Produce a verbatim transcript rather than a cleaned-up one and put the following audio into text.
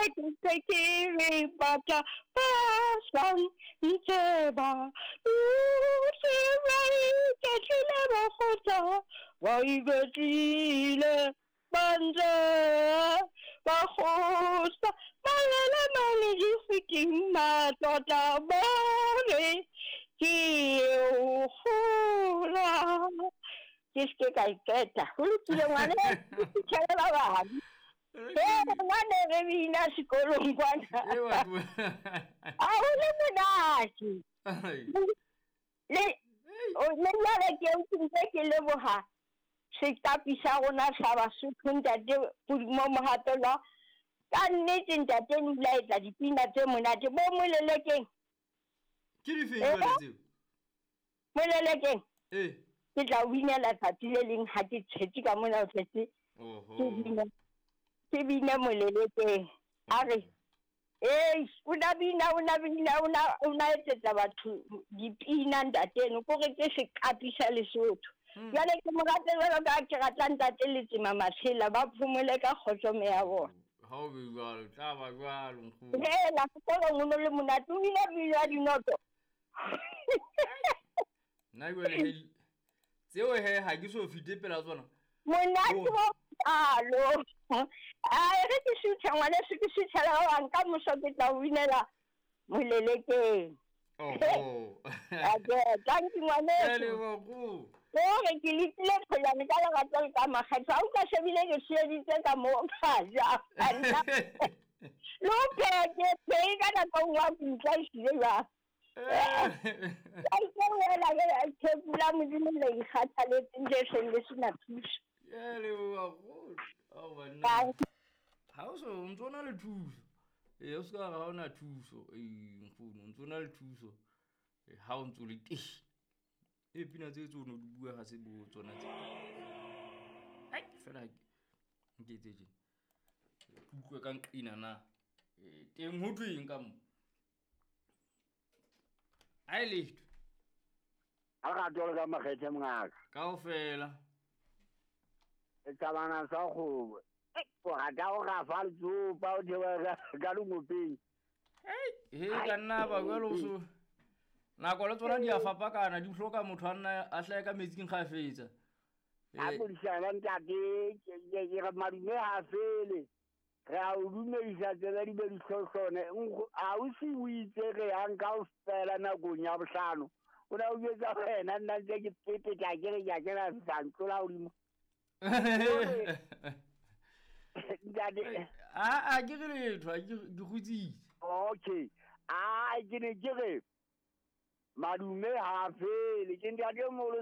Ke ntse ke re batla ba sa ntse ba dutse ba iketlile ba kgotsa, ba iketlile ba ntse ba kgotsa, ba lele mane dikgwiting matlotla bone ke eo kgola. Ke se ke ka e qeta. Ho lokile ngwane, ke fitlhele ba bang. Ee, ngwane re bina sekolong kwana. E batho. A ho le monate. Ai. Le o le jwale ke ke ntse ke leboha sekapi sa rona sa Basotho ntate Pudumo Mohapelwa. Ka nnete ntate o ile a etsa dipina tse monate bo molelekeng. Ke difeng Eh? jwale tseo? Molelekeng. Eh. Ke tla o binela tsatsi le leng ha ke tshetse ka mona o tletse. Oho. Ke bine, ke bine molelekeng. A re, "Ei, o na bina, o na bina, o na, o na etsetsa batho dipina ntate eno, kore ke sekapi sa Lesotho." Hmm. Jwale ke mo rata jwalo ka ha ke rata ntate Letsema Matshela, ba phomole ka kgotso meya bona. Ha o be jwalo, tla ba jwalo nkgono. Hela, sekolong o no le monate, o bina pina ya dinoto. Nna jwale he, tseo he ha ke so fete pela tsona. Monate Oh. bo kalo. Ai, re ke suthe ngwaneso, ke suthela ba bang, ka moso ke tla o binela molelekeng. Oho. Ake, thank you Ke a ngwaneso. leboha nkgono. Hore ke letile tholwane ka lerato le ka makgetho. Ha utlwa shebile ke tsheheditse ka moo ka ja. Le ho pheha ke phehe ka nako e nngwe ha ke utlwa ehlile jwang. Ka ipolela ke tshepo la Modimo le ikgathaletseng le seng le sena thuso. Ke a leboha nkgono. Ao banna. Bye. Ha o so o ntso na le thuso. Ee, o se ka re ha ona thuso. Ee, nkgono, o ntso na le thuso. Ee, ha o ntso le teng. Ee, pina tse tseo o no di bua ha se bo tsona tse. Ai, fela ha ke nke etse tjena. Ke utlwe ka nqina na. Ee, teng ho thweng ka mo? Ha e letho. Ha re rata le ka makgethe mongaka. Kaofela. E tsamana sa kgobo. O rata ho rafa letsopa o theoha ka, ka lengopeng. Hei, he ka nna ba jwalo o so. Nako le tsona di a fapakana, di hloka motho a nna a hlahe ka metsing kgafetsa. Ha Eh. modisana ntate, ke, ke, ke re madume ha fele. Re a o dumedisa tsebe di be di hlohlone. Nkgo, ha o se o itse re yang kaofela nakong ya bohlano. O ne o jwetsa wena, nna ntse ke pepetla ke re ke a kena sa ntlola hodimo. Ntate. A, a ke re letho, ha ke, ke kgutsitse. Okay. A, ke ne ke re madume ha fele, ke ntate o moholo